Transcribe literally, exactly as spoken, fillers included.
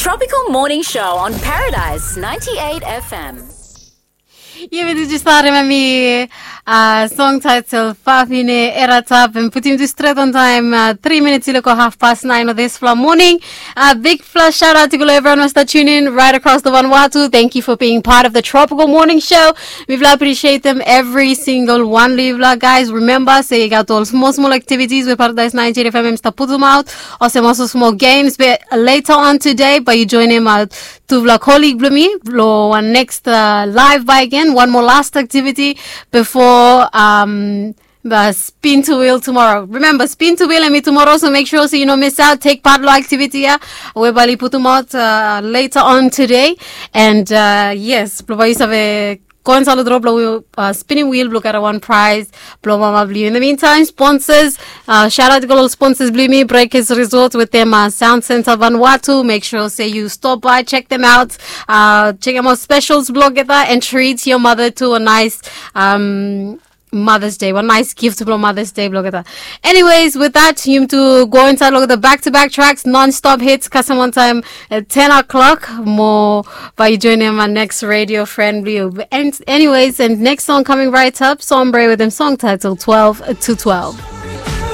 Tropical Morning Show on Paradise ninety-eight F M. Yumi tu just thought him and me uh, song title Fafine Eratap and put him to straight on time uh, three minutes iloko half past nine of this fla morning. Uh, big flash shout out to everyone who start tuning in right across the Vanuatu. Thank you for being part of the Tropical Morning Show. We will appreciate them every single one. Livla guys, remember say you got all small small activities with Paradise ninety-eight F M start put them out. Also small small games, but later on today, but you join him out. Tufala colleague blong mi blong wan next uh, live by again, one more last activity before um, the spin to wheel tomorrow. Remember, spin to wheel and me tomorrow, so make sure so you know miss out, take part lo activity ya. We bali put them out uh, later on today. And uh, yes, blong bai yu save go and salo drop lo uh, spinning wheel blong gat one prize blong mama blong yu. In the meantime, sponsors, uh, shout out to all sponsors blong mi, Breakers Resort with them uh, Sound Center Vanuatu. Make sure say you stop by, check them out, uh, check them out specials blong gat and treat your mother to a nice um, Mother's Day, one nice gift blong Mother's Day blong gat. Anyways, with that, you to go inside look at the back-to-back tracks, non-stop hits, custom one time at ten o'clock. More by you joining my next radio friend blong yu. And anyways, and next song coming right up, Sombre with them song title twelve to twelve.